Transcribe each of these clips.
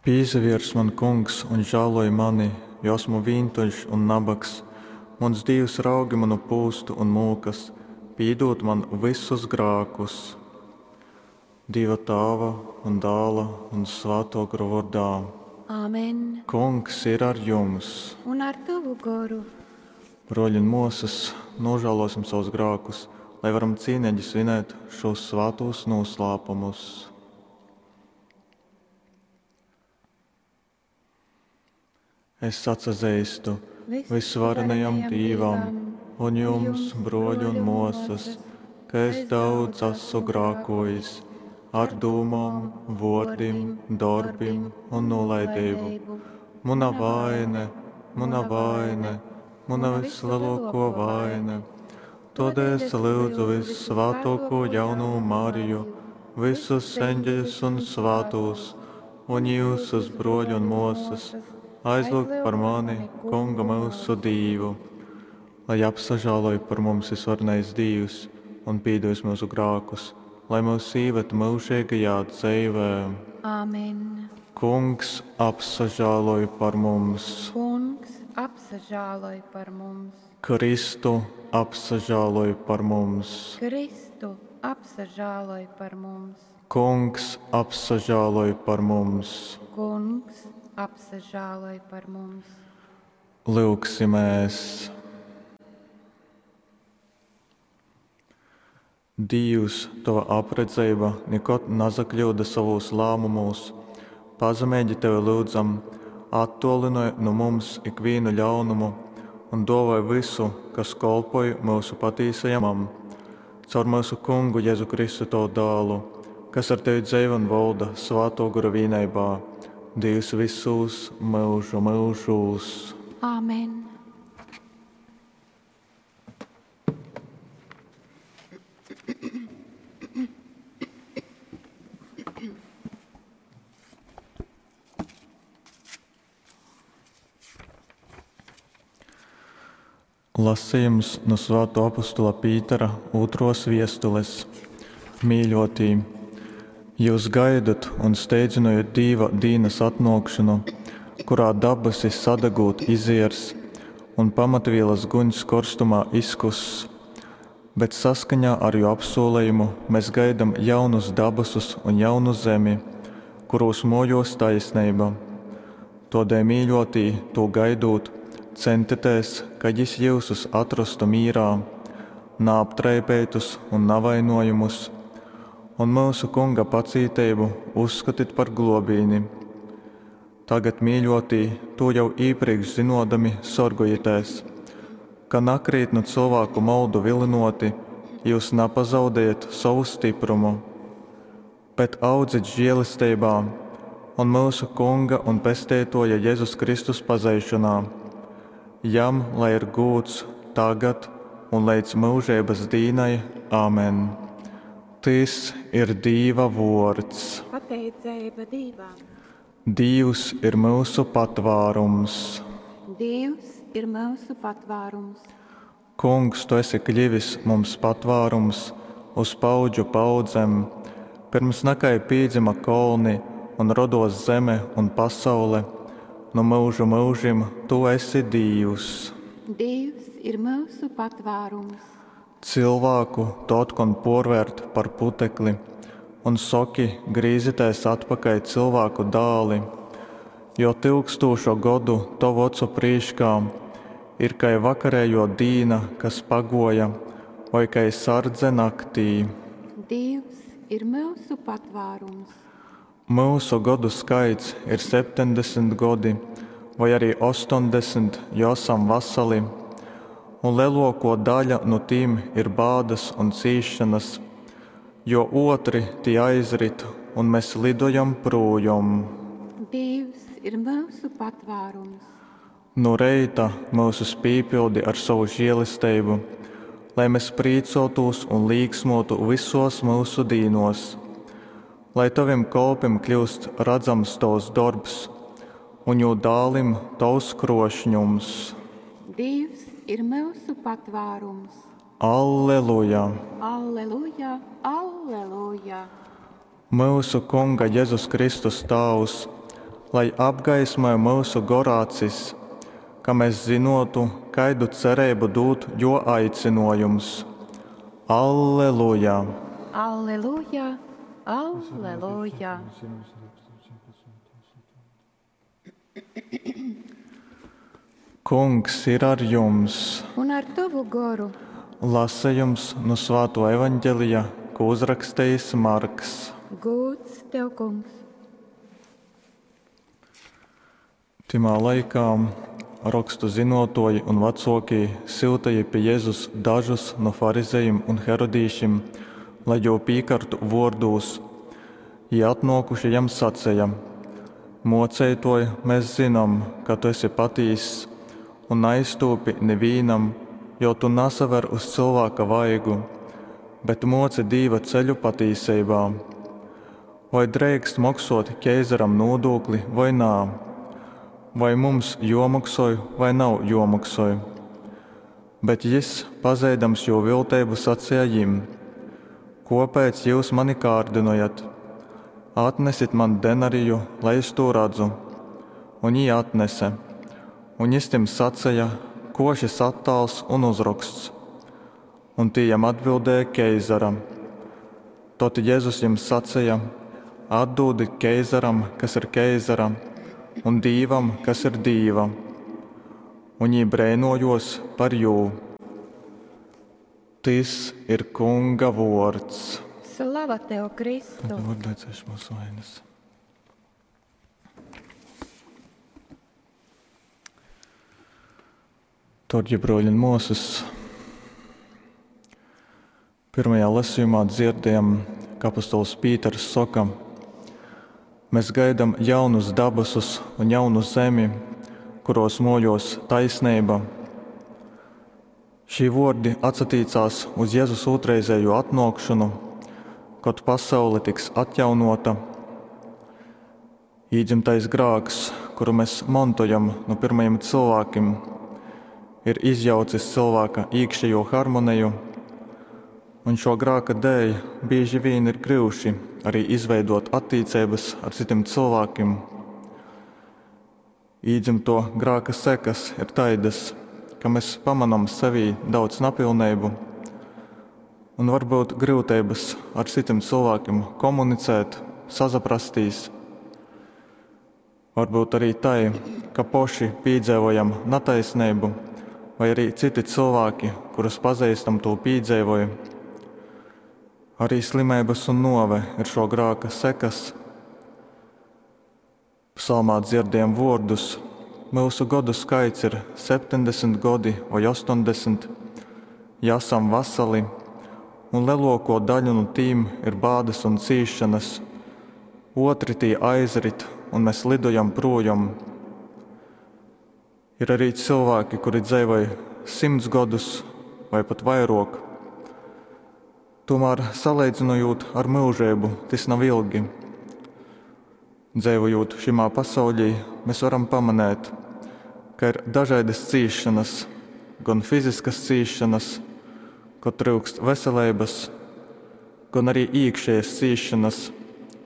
Pīsaviers man, Kungs, un žāloj mani, jo asmu vīntuļš un nabags. Muns Dīvs, raugi munu pūstu un mūkas, pīdūd man vysus grākus. Dīva Tāva un Dāla un Svātō Gora vōrdā. Amen. Kungs ir ar jums! Un ar tovu goru. Brōļi un mōsas, nūžālōsim savus grākus, lai varam cīneigi svinēt šūs svātūs nūslāpumus. Es atsazeistu vysvarenajam Dīvam un jums, brōļi un mōsas, ka es daudz esmu grākojis ar dūmom, vōrdim, dorbim un nūlaideibu. Muna vaine, muna vaine, muna vyslelōkō vaine. Tōdēļ es lyudzu vyssvātōkū jaunū Mariju, vysus eņģeļus un svātūs, un jyusus, brōļi un mōsas, aizlyugt par mani Kungu myusu Dīvu. Lai apsažāloj par mums visvarenais Dīvs un pīdūs myusu grākus, lai mūs īved myužīgajā dzeivē. Amen. Kungs apsažāloj par mums. Kungs apsažāloj par mums. Kristu apsažāloj par mums. Kristu apsažāloj par mums. Kungs apsažāloj par mums. Kungs apsažāloj par mums. Lyugsimēs! Dīvs, Tova apredzeiba nikod nasakļyuda sovūs lāmumūs. Pazemeigi Tevi lyudzam, attuolinoj nu mums ikvīnu ļaunumu un duovoj vysu, kas kolpoj myusu patīsajam. Caur myusu Kungu Jezu Kristu Tovu dālu, kas ar Tevi dzeivo un volda Svātō Gora vīneibā, Dīvs vysūs myužu myužūs. Āmen. Lasījums no Svāto apostula Pītera ūtros viestules. Mīļotī, jūs gaidat un steidzynojat Dīva dīnas atnōkšanu, kurā dabasi sadegūt iziers un pamatvīlas guņs korstumā izkuss. Bet saskaņā ar jo apsūlejumu mēs gaidam jaunus dabasus un jaunu zemi, kurūs mōjos taisneiba. Tōdēļ, mīļotī, tū gaidūt, centitēs, ka jis jyusus atrostu mīrā, naaptraipeitus un navainojumus, un myusu Kunga pacīteibu uzskatit par globīni. Tagad, mīļotī, tū jau īpriekš zinodami, sorgojitēs, ka nakrīt nu cilvēku moldu vilinoti, jūs napazaudējat sovu stiprumu, bet audzit žēlesteibā un myusu Kunga un Pesteitoja Jezus Kristus pazeišanā. Jam lai ir gūds tagad un līdz mūžības dīnai. Āmen. Tys ir Dīva vōrds. Pateiceiba Dīvam. Dīvs ir myusu patvārums. Dīvs ir myusu patvārums. Kungs, tu esi kļivis mums patvārums uz paudžu paudzem, pirms nakai pīdzima kolni un rodos zeme un pasaule, nu myužu myužim tu esi Dīvs. Dīvs ir myusu patvārums. Cilvēku tu otkon pōrvērt par putekli un soki, grīzitēs atpakaļ cilvēku dāli, jo tyukstūša godu tovu ocu prīškā ir kai vakarējo dīna, kas pagoja, vai kai sardze naktī. Dīvs ir myusu patvārums. Myusu godu skaits ir 70 godi, vai arī 80, jo esam vasali, un lielāko daļa no tīm ir bādas un cīšanas, jo otri tie aizrit, un mēs lidojam projom. Dievs ir myusu patvārums. Nu reita mūsus pīpildi ar savu žēlesteibu, lai mēs prīcotos un līksmotu visos mūsu dīnos, lai taviem kolpim kļūst redzams tavs darbs un jū dālim tavs krošņums. Dievs ir myusu patvārums. Alleluja! Alleluja! Alleluja! Myusu Kunga Jezus Kristus Tāvs, lai apgaismoj myusu gora acis, ka mes zynōtu, kaidu cereibu dūd Jō aicynōjums. Alleluja! Alleluja! Alleluja! Kungs ir ar jums! Un ar tovu goru! Lasejums nu Svātō Evaņgelija, kū uzrakstejis Marks. Gūds tev, Kungs! Tymā laikā rokstu zynōtōji un vacōkī syuteja pi Jezus dažus nu farizejim un herodīšim, lai jū pīkartu vōrdūs. Jī atnōkuši jam saceja, Mōceitōj, mes zynom, ka tu esi patīss un naiztūpi nivīnam, jo tu nasaver uz cylvāka vaigu, bet mōci Dīva ceļu patīseibā. Voi dreikst moksōt keizaram nūdūkli, voi nā? Voi mums jōmoksoj, vai nav jōmoksoj? Bet jys, pazeidams jū vilteibu, saceja jim, Kōpēc jyus mani kārdynojat? Atnesit man denariju, lai es tū radzu. Un jī atnese. Un jys tim saceja, Kō šys attāls un uzroksts? Un tī jam atbildēja, Keizara. Tod Jezus jim saceja, Atdūdit keizaram, kas ir keizara, un Dīvam, kas ir Dīva. Un jī breinōjōs par jū. Tys ir Kunga vōrds. Slava tev, Kristu! Tad var lai ceš mūsu vainas. Dārgie brōļi un māsas, pirmajā lasījumā dzirdējam, ka apostols Pīters soka: Mēs gaidam jaunus dabasus un jaunu zemi, kuros mojos taisnība. Šī vōrdi atsatīcās uz Jezus ūtrreizējo atnōkšonu, kod pasaule tiks atjaunota. Īdzimtais grāks, kuru mēs montojam no pirmajiem cilvēkiem, ir izjaucis cilvēka iekšējo harmoniju, un šo grāka dēļ bieži vien ir gryuši arī izveidot attiecības ar citiem cilvēkiem. Īdzimto grāka sekas ir taidas, ka mēs pamanām sevī daudz napilnību un varbūt grūtības ar citiem cilvēkiem komunicēt, sazaprastīs. Varbūt arī tai, ka poši piedzīvojam nataisnību, vai arī citi cilvēki, kurus pazīstam, to piedzīvoja. Arī slimības un nove ir šo grāka sekas. Psalmā dzirdējam vārdus: Mūsu godu skaits ir 70 gadi vai 80, ja esam vasali, un lielāko daļu no tīm ir bādas un cīšanas. Otri tī aizrit, un mēs lidojam projām. Ir arī cilvēki, kuri dzīvoja 100 gadus vai pat vairāk. Tomēr, salīdzinot ar mūžību, tas nav ilgi. Dzīvojot šimā pasaulī, mēs varam pamanīt, ka ir dažādas cīšanas, gan fiziskas cīšanas, kad trūkst veselības, gan arī iekšējas cīšanas,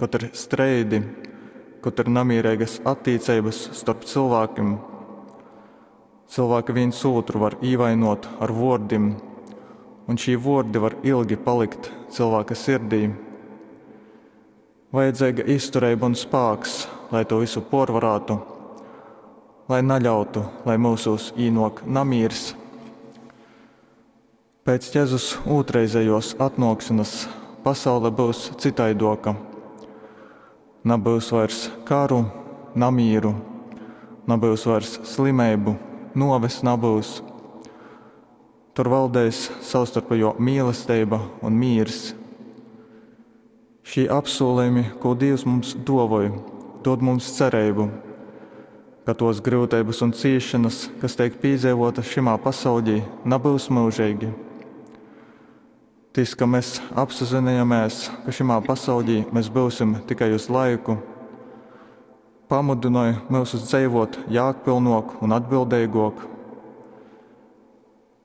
kad ir streidi, kad ir namierīgas attiecības starp cilvēkiem. Cilvēki viens otru var ievainot ar vārdiem, un šī vārdi var ilgi palikt cilvēka sirdī. Vajadzīga izturība un spēks, lai to visu porvarētu, lai neļautu, lai mūsos īnok namīrs. Pēc Jēzus otrreizējos atnākšanas pasaule būs citaidoka. Nebūs vairs karu, namīru, nebūs vairs slimību, noves nebūs. Tur valdēs savstarpējo mīlestība un mīrs. Šī apsolījumi, ko Dievs mums dāvoja, dod mums cerību, ka tos grūtības un ciešanas, kas tiek piedzīvotas šimā pasaulī, nebūs mūžīgi. Tas, ka mēs apzināmies, ka šimā pasaulī mēs būsim tikai uz laiku, pamudināja mūs dzīvot jēgpilnāk un atbildīgāk.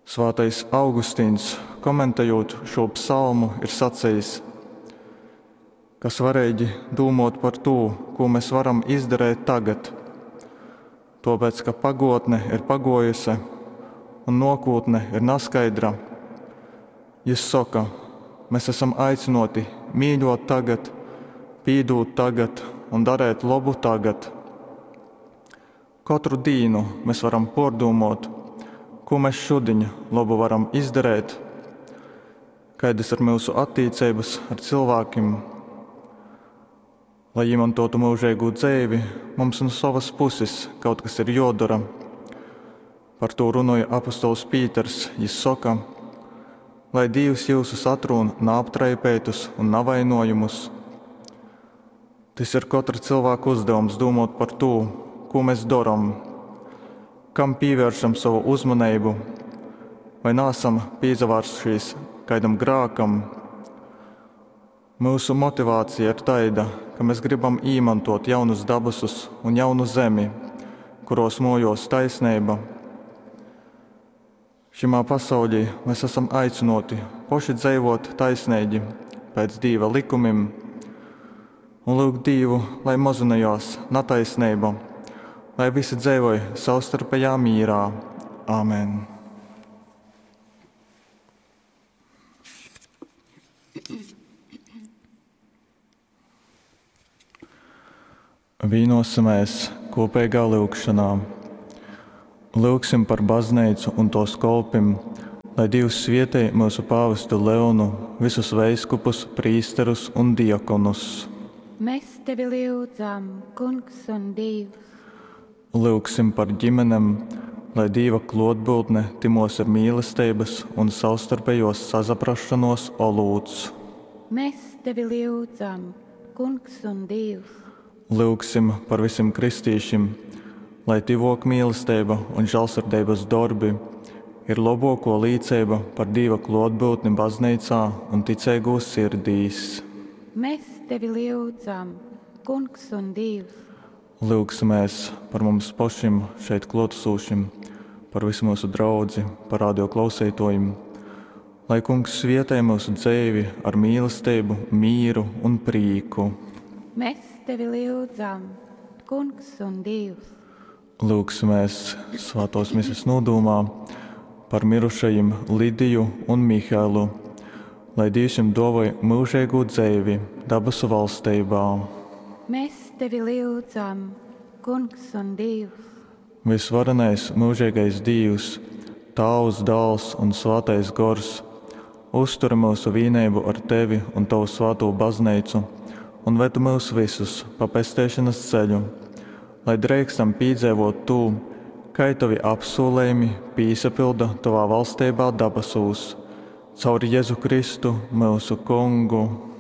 Svētais Augustīns, komentējot šo psalmu, ir sacījis: Ka svareigi dūmōt par tū, kū mes varam izdareit tagad. Tōpēc, ka pagōtne ir pagōjuse, un nōkūtne ir naskaidra. Jys soka, mes asam aicynōti mīļōt tagad, pīdūt tagad un dareit lobu tagad. Kotru dīnu mes varam pōrdūmōt, kū mes šudiņ lobu varam izdareit, kaidas ir myusu attīceibas ar cylvākim. Lai īmontōtu myužeigū dzeivi, mums nu sovas puses kaut kas ir jōdora. Par tū runoj apostols Pīters, jys soka, Lai Dīvs jyusus atrūn naaptraipeitus un navainojamus. Tys ir kotra cylvāka uzdevums dūmōt par tū, kū mes dorom, kam pīvēršam sovu uzmaneibu, vai naasam pīsavārsušīs kaidam grākam. Myusu motivācija ir taida, ka mes grybam īmontōt jaunus dabasus un jaunu zemi, kurōs mōjōs taisneiba. Šymā pasauļī mes asam aicynōti poši dzeivōt taisneigi pēc Dīva lykumim un lyugt Dīvu, lai mozynojās nataisneiba, lai visi dzeivoj savstarpejā mīrā. Amen. Vīnosimēs kopīgā lyugšanā. Lyugsim par bazneicu un tōs kolpim, lai Dīvs svietej myusu pāvestu Leonu, visus veiskupus, prīsterus un diakonus. Mēs tevi lyudzam, Kungs un Dīvs. Lyugsim par ģimenem, lai Dīva klōtbyutne tymōs ir mīlesteibys un savstarpejuos sasaprasšonuos olūts. Mēs tevi lyudzam, Kungs un Dīvs. Lyugsim par vysim kristīšim, lai tyvōkmīlesteiba un žālsirdeibys dorbi ir lobuokuo līceiba par Dīva kluotbyutni bazneicā un ticeigūs sirdīs. Mēs tevi lyudzam, Kungs un Dīvs. Lyugsimēs par mums pošim šeit kluotasūšim, par vysu myusu draudzi, par radio klauseituojim. Lai Kungs svietej myusu dzeivi ar mīlesteibu, mīru un prīku. Mēs tevi lyudzam, Kungs un Dīvs. Lyugsimēs Svātōs Mises nūdūmā par mirušajim Lidiju un Mihelu, lai Dīvs jim duovoj myužeigū dzeivi dabasu valsteibā. Mēs tevi lyudzam, Kungs un Dīvs. Vysvarenais myužeigais Dīvs, Tāvs, Dāls un Svātais Gors, uzturi myusu vīneibu ar Tevi un Tovu svātū Bazneicu un ved myus vysus pa pesteišonas ceļu, lai dreikstam pīdzeivōt tū, kai Tovi apsūlejumi pīsapylda Tovā valsteibā dabasūs. Caur Jezu Kristu, myusu Kungu.